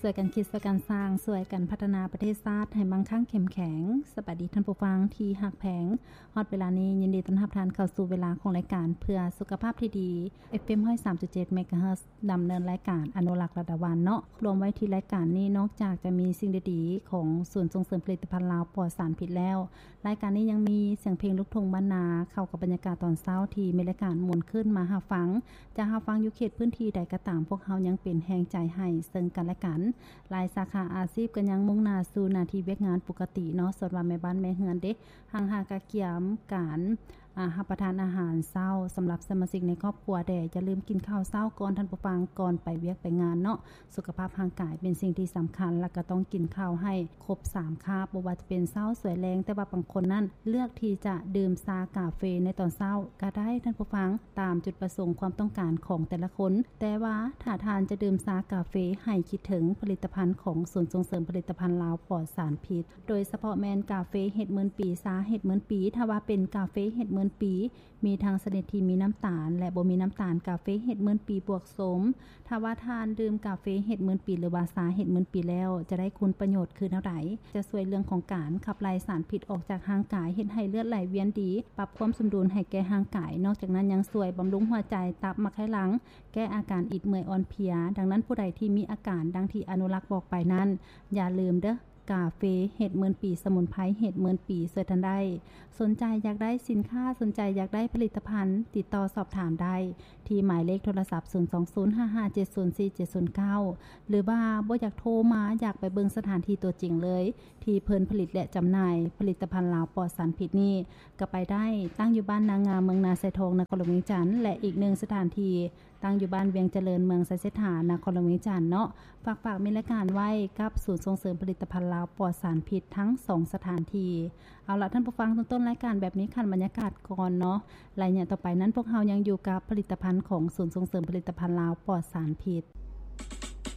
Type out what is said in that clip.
ຊ່ວຍກັນຄິດ ຊ່ວຍກັນສ້າງ ຊ່ວຍກັນພັດທະນາປະເທດຊາດໃຫ້ມັ່ງຄັ່ງເຂັ້ມແຂງ. ສະບາຍດີທ່ານຜູ້ຟັງທີ່ຮັກແພງ. ຮອດເວລານີ້ ຍິນດີຕ້ອນຮັບທ່ານເຂົ້າສູ່ເວລາຂອງລາຍການເພື່ອສຸຂະພາບທີ່ດີ ເອັຟເອັມ ຮ້ອຍສາມຈຸດເຈັດ ເມກາເຮີດ ດຳເນີນລາຍການອະນຸລັກລັດດາວັນເນາະ. ລວມໄວ້ທີ່ລາຍການນີ້ ນອກຈາກຈະມີສິ່ງດີໆຂອງສູນສົ່ງເສີມຜະລິດຕະພັນລາວປອດສານພິດແລ້ວ, ລາຍການນີ້ຍັງມີສຽງເພງລູກທົ່ງບ້ານນາ ເຂົ້າກັບບັນຍາກາດຕອນເຊົ້າທີ່ມີລາຍການມ່ວນຊື່ນມາຮັບຟັງ. ຈະຮັບຟັງຢູ່ເຂດພື້ນທີ່ໃດກໍຕາມ, ພວກເຮົາຍັງເປັນແຮງໃຈໃຫ້ເຊິ່ງກັນແລະກັນ. ຫຼາຍສາຂາອາຊີບກໍຍັງມຸ່ງໜ້າສູ່ໜ້າທີ່ວຽກງານປົກກະຕິເນາະ, ສ່ວນວ່າແມ່ບ້ານແມ່ເຮືອນເດ ຫາກະກຽມການ ອາ ຮັບປະທານອາຫານເຊົ້າສຳລັບສະມາຊິກໃນຄອບຄົວແດ່. ຢ່າລືມກິນເຂົ້າເຊົ້າກ່ອນທ່ານຜູ້ຟັງ, ກ່ອນໄປວຽກໄປງານເນາະ. ສຸຂະພາບຮ່າງກາຍເປັນສິ່ງທີ່ສຳຄັນ ແລະ ກໍຕ້ອງກິນເຂົ້າໃຫ້ຄົບສາມຄາບ, ບໍ່ວ່າຈະເປັນເຊົ້າ ສວຍ ແລງ. ແຕ່ວ່າບາງຄົນນັ້ນເລືອກທີ່ຈະດື່ມຊາກາເຟໃນຕອນເຊົ້າກໍໄດ້ທ່ານຜູ້ຟັງ, ຕາມຈຸດປະສົງຄວາມຕ້ອງການຂອງແຕ່ລະຄົນ. ແຕ່ວ່າຖ້າທ່ານຈະດື່ມຊາກາເຟ, ໃຫ້ຄິດເຖິງຜະລິດຕະພັນຂອງສູນສົ່ງເສີມຜະລິດຕະພັນລາວປອດສານພິດ, ໂດຍສະເພາະແມ່ນກາເຟເຮັດໝື່ນປີ, ຊາເຮັດໝື່ນປີ. ຖ້າວ່າເປັນກາເຟເຮັດໝື່ນປີ, ມີທັງຊະນິດທີ່ມີນ້ຳຕານ ແລະ ບໍ່ມີນ້ຳຕານ. ກາເຟເຮັດໝື່ນປີບວກໂສມ. ຖ້າວ່າທ່ານດື່ມກາເຟເຮັດໝື່ນປີ ຫຼືວ່າຊາເຮັດໝື່ນປີແລ້ວ, ຈະໄດ້ຄຸນປະໂຫຍດຄືແນວໃດ? ຈະຊ່ວຍເລື່ອງຂອງການຂັບໄລ່ສານພິດອອກຈາກຮ່າງກາຍ, ເຮັດໃຫ້ເລືອດໄຫຼວຽນດີ, ປັບຄວາມສົມດຸນໃຫ້ແກ່ຮ່າງກາຍ. ນອກຈາກນັ້ນຍັງຊ່ວຍບຳລຸງຫົວໃຈ, ຕັບ, ໝາກໄຂ່ຫຼັງ, ແກ້ອາການອິດເມື່ອຍອ່ອນເພຍ. ດັ່ງນັ້ນ, ຜູ້ໃດທີ່ມີອາການດັ່ງທີ່ອະນຸລັກບອກໄປນັ້ນ, ຢ່າລືມເດີ້, ກາເຟເຮັດໝື່ນປີ, ສະໝຸນໄພເຮັດໝື່ນປີ ຊ່ວຍທ່ານໄດ້. ສົນໃຈຢາກໄດ້ສິນຄ້າ, ສົນໃຈຢາກໄດ້ຜະລິດຕະພັນ, ຕິດຕໍ່ສອບຖາມໄດ້ທີ່ໝາຍເລກໂທລະສັບ ສູນສອງສູນ ຫ້າຫ້າເຈັດສູນ ສີ່ເຈັດສູນເກົ້າ ຫຼືວ່າບໍ່ຢາກໂທມາ, ຢາກໄປເບິ່ງສະຖານທີ່ຕົວຈິງເລີຍ, ທີ່ເພິ່ນຜະລິດ ແລະ ຈຳໜ່າຍຜະລິດຕະພັນລາວປອດສານພິດນີ້ ກໍໄປໄດ້, ຕັ້ງຢູ່ບ້ານນາງາມ ເມືອງນາຊາຍທອງ ນະຄອນຫຼວງວຽງຈັນ ແລະ ອີກໜຶ່ງສະຖານທີ່ ຕັ້ງຢູ່ບ້ານວຽງຈະເລີນ ເມືອງໄຊເສດຖາ ນະຄອນຫຼວງວຽງຈັນເນາະ. ຝາກ ຝາກມີລາຍການໄວ້ກັບສູນສົ່ງເສີມຜະລິດຕະພັນລາວປອດສານພິດທັງສອງສະຖານທີ່. ເອົາລະທ່ານຜູ້ຟັງ, ຕົ້ນໆລາຍການແບບນີ້ ຂັ້ນບັນຍາກາດກ່ອນເນາະ. ໄລຍະຕໍ່ໄປນັ້ນ ພວກເຮົາຍັງຢູ່ກັບຜະລິດຕະພັນຂອງສູນສົ່ງເສີມຜະລິດຕະພັນລາວປອດສານພິດ.